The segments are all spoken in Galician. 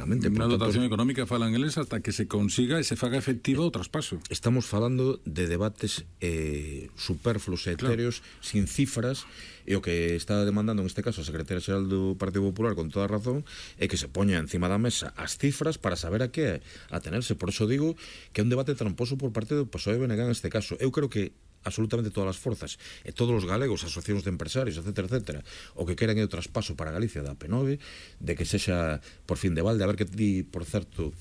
lógicamente. Na dotación económica falan eles hasta que se consiga e se faga efectivo o traspaso. Estamos falando de debates superfluos e etéreos, sin cifras, e o que está demandando en este caso a Secretaria Xeral do Partido Popular con toda a razón é que se poña encima da mesa as cifras para saber a que atenerse. Por iso digo que é un debate tramposo por parte do PSOE e BNG en este caso. Eu creo que absolutamente todas as forzas e todos os galegos, asociacións de empresarios, etcétera, o que queren é o traspaso para Galicia da P9, de que sexa por fin de balde. A ver que di, por certo,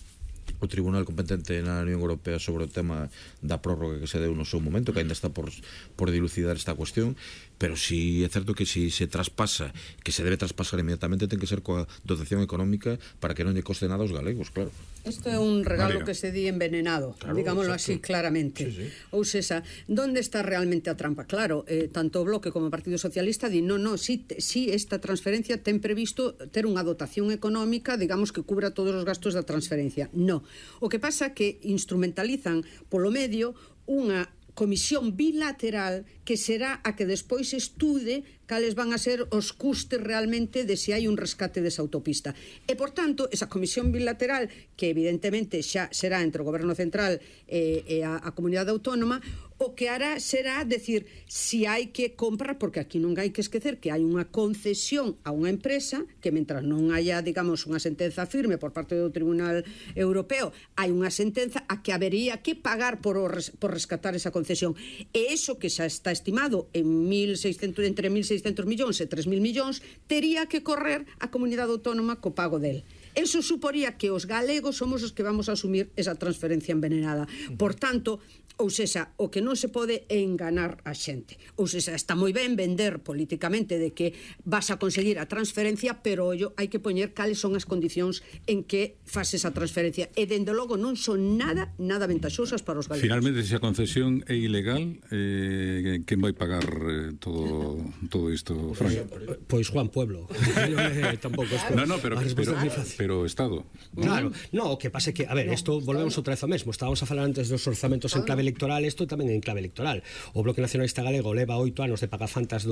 o Tribunal competente na Unión Europea sobre o tema da prórroga que se deu no seu momento, que ainda está por dilucidar esta cuestión, pero si é certo que si se traspasa, que se debe traspasar inmediatamente, ten que ser coa dotación económica para que non lle coste nada aos galegos, claro. Isto é un regalo que se di envenenado, claro, digámoslo así claramente. Sí. Ou seja, onde está realmente a trampa? Claro, tanto o Bloque como o Partido Socialista di, si esta transferencia ten previsto ter unha dotación económica, digamos, que cubra todos os gastos da transferencia. No. O que pasa é que instrumentalizan polo medio unha comisión bilateral que será a que despois estude cales van a ser os custes realmente de se hai un rescate desa autopista. E, por tanto, esa comisión bilateral, que evidentemente xa será entre o Goberno Central e a Comunidade Autónoma, o que hará será decir si hai que comprar, porque aquí non hai que esquecer que hai unha concesión a unha empresa que mentras non haya, digamos, unha sentenza firme por parte do Tribunal Europeo, hai unha sentenza a que habería que pagar por rescatar esa concesión. E iso que xa está estimado en entre 1.600 millóns e 3.000 millóns tería que correr a Comunidade Autónoma co pago del. Eso suporía que os galegos somos os que vamos a asumir esa transferencia envenenada. Por tanto, ou sexa, o que non se pode é enganar a xente. Ou sexa, está moi ben vender políticamente de que vas a conseguir a transferencia, pero ollo, hai que poñer cales son as condicións en que faz esa transferencia. E, dende logo, non son nada ventaxosas para os galegos. Finalmente, se a concesión é ilegal, quen vai pagar todo isto, Fran? Pois Juan Pueblo. Tampouco isto. No, pero o Estado. Claro, o que pasa é que, a ver, isto volvemos outra vez ao mesmo. Estábamos a falar antes dos orzamentos en clave electoral, isto tamén en clave electoral. O Bloque Nacionalista Galego leva 8 anos de pagafantas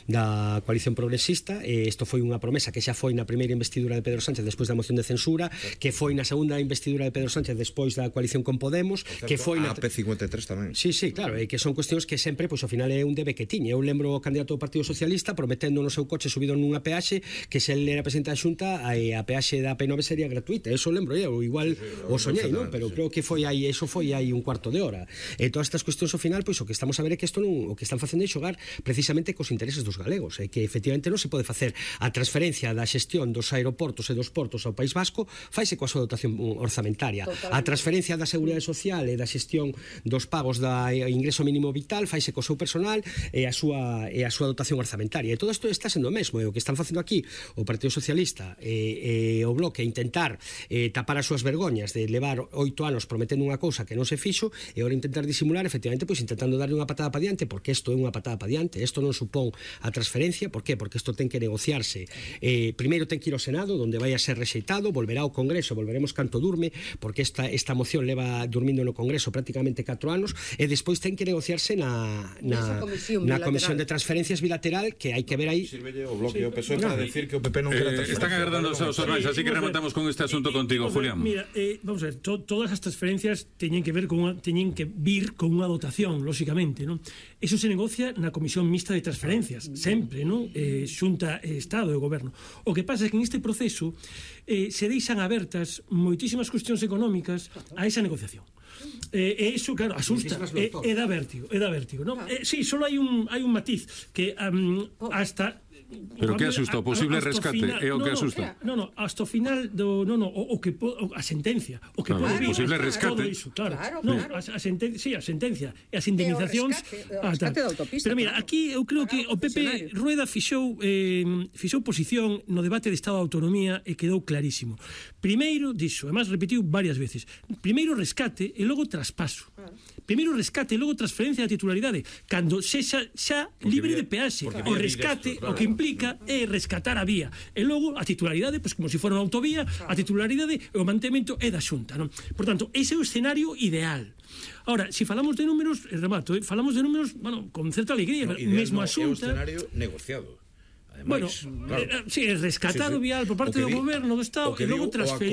da coalición progresista, e isto foi unha promesa que xa foi na primeira investidura de Pedro Sánchez despois da moción de censura, que foi na segunda investidura de Pedro Sánchez despois da coalición con Podemos, que foi na AP53 tamén. Sí, claro, e que son cuestións que sempre, pois ao final é un debe que tiña. Eu lembro o candidato do Partido Socialista prometendo no seu coche subido nunha peaxe que se ele era presidente da Xunta a peaxe da P9 sería gratuita. Eso lembro eu, igual o soñei, non? Pero creo que foi aí un cuarto de hora. E todas estas cuestións ao final, pois o que estamos a ver é que isto non, o que están facendo é xogar precisamente cos intereses dos galegos, e que efectivamente non se pode facer a transferencia da xestión dos aeroportos e dos portos ao País Vasco, faise coa súa dotación orzamentaria. A transferencia da Seguridade Social e da xestión dos pagos da ingreso mínimo vital faise co seu personal e a súa dotación orzamentaria. E todo isto está sendo o mesmo, e o que están facendo aquí o Partido Socialista e o Bloque intentar tapar as súas vergoñas de levar 8 anos prometendo unha cousa que non se fixo, e agora intentar disimular, efectivamente, pois intentando darle unha patada para diante, porque isto é unha patada para diante. Isto non supón a transferencia. Por qué? Porque isto ten que negociarse. Primeiro ten que ir ao Senado, onde vai a ser rexeitado, volverá ao Congreso, volveremos canto durme, porque esta moción leva durmindo no Congreso prácticamente 4 anos, e despois ten que negociarse na Comisión de Transferencias bilateral, que hai que ver aí. Sirvelle o Bloque e o PSOE para decir que o PP non quere transferencia. Están agardando os xornais, así que rematamos con este asunto contigo, Julián. Mira, vamos a ver, todas as transferencias teñen que vir con unha dotación, lóxicamente, non? Eso se negocia na Comisión Mixta de Transferencias, sempre, non? Xunta, Estado e Goberno. O que pasa é que neste proceso se deixan abertas moitísimas cuestións económicas a esa negociación. E iso, claro, asusta, e dá vértigo, non? Sí, só hai un matiz que hasta... Pero que asusta? O posible rescate é o que asusta? Non, hasta o final a sentencia, o que pode vir, posible rescate. Claro. A sentencia e as indemnizacións. Pero mira, aquí eu creo que o PP Rueda fixou posición no debate de Estado de Autonomía e quedou clarísimo. Primeiro dixo, además repetiu varias veces, primeiro rescate e logo traspaso. Primeiro rescate e logo transferencia da titularidade, cando sexa xa libre de peaxe. O rescate, o que implica é rescatar a vía, e logo a titularidade, pois como se fora unha autovía, a titularidade e o mantemento é da Xunta, non? Por tanto, ese é o escenario ideal. Ahora, se falamos de números, remato, falamos de números, bueno, con certa alegría, mesmo a Xunta. É o escenario negociado. Ademais, bueno, claro. Sí, rescatado vial por parte do Goberno do Estado e logo transferir